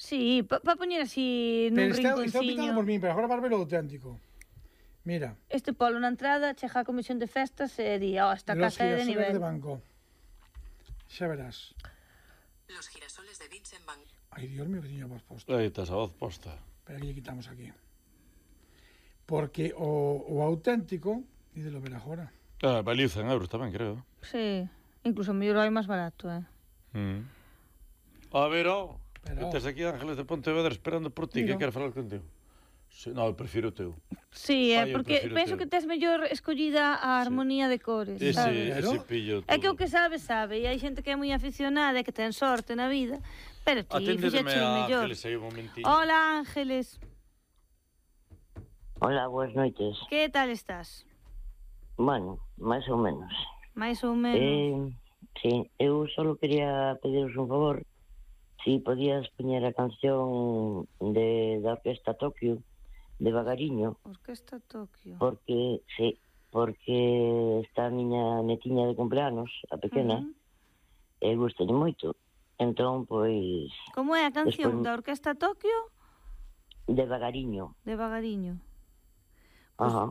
Sí, para poñer así nun Pero está optado rinconciño. por min, pero agora vas ver o auténtico. Mira. Este polo na entrada, chega a comisión de festas e di, esta Los casa é de girasoles de nivel. banco. Xa verás. Los girasoles de Beach en Banco. Ai, Dios mío, que tiña voz posta. Aí estás a voz posta. Espera que lle quitamos aquí. Porque o auténtico, ídelo ver agora. Valiu 100 euros tamén, creo. Sí, incluso mellor hai máis barato, A ver, Pero... Estás aquí, Ángeles de Pontevedra, esperando por ti, Mira. que quero falar contigo. Sí, no, eu prefiro o teu. Sí, Ai, eu porque prefiro penso teu. que tes mellor escollida a armonía de cores, sabes? Ese pillo todo. É que o que sabe, e hai xente que é moi aficionada e que ten sorte na vida, pero ti Aténdeme fixeche o a mellor. Ángeles aí un momentinho. Hola, Ángeles. Hola, boas noites. Que tal estás? Bueno, máis ou menos. Mais ou menos. Sí, eu só quería pediros un favor. Si podías poñer a canción da Orquesta Tokio, de Vagariño. Orquesta Tokio. Porque está a miña netiña de cumpleanos, a pequena, e gustalle moito. Entón, pois... Como é a canción despois... da Orquesta Tokio? De Vagariño. De Vagariño.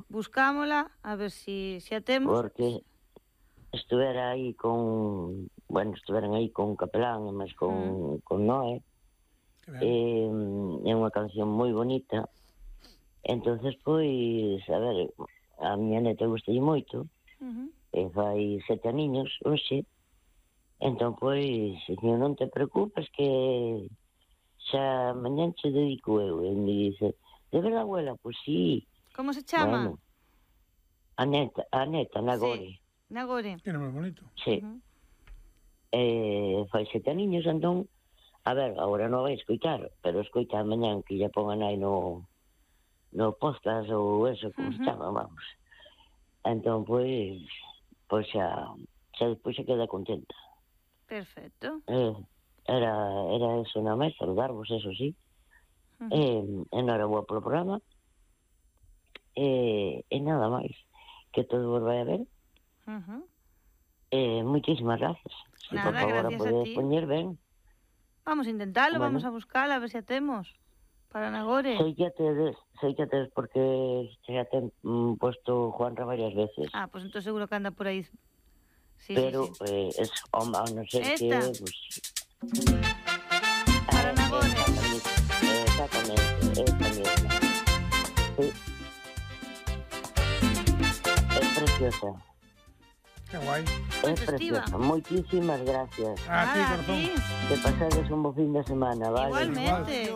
Buscámola, a ver si a temos. Porque estuveran aí con Capelán, e máis con Noé. É unha canción moi bonita. Entonces, pois, a ver, a miña neta gustalle moito. E fai 7 aniños, hoxe. Entón, pois, non te preocupes que xa mañán che dedico eu. E me dice, de verdade, abuela? Pois sí. Como se chama? Bueno, a neta, Nagore. Sí, Nagore. Que nome bonito. Sí. Fai 7 aniños, entón, a ver, agora non vai escoitar, pero escoita mañán que lle pongan aí no podcast ou eso, como se chama, vamos. Entón, pois xa despois se queda contenta. Perfecto. Era eso na máis, saludarvos, eso sí. Enhoraboa polo programa. E nada máis. Que todo vos vai a ver. Moitísimas gracias. Nada, por favor, gracias a podedes ti. poñer ben. Vamos a intentarlo, Bueno. vamos a buscarla, a ver se a temos. Para Nagore. Sei que tedes porque xa ten posto Juanra varias veces. Pues entonces seguro que anda por aí. Sí, pero sí. Es a non ser que pues, para Nagore. Exactamente, esta misma. Sí. Es preciosa. Que guai. Es preciosa. Moitísimas gracias. A ti, corazón. Que pasades un bo fin de semana, vale? Igualmente.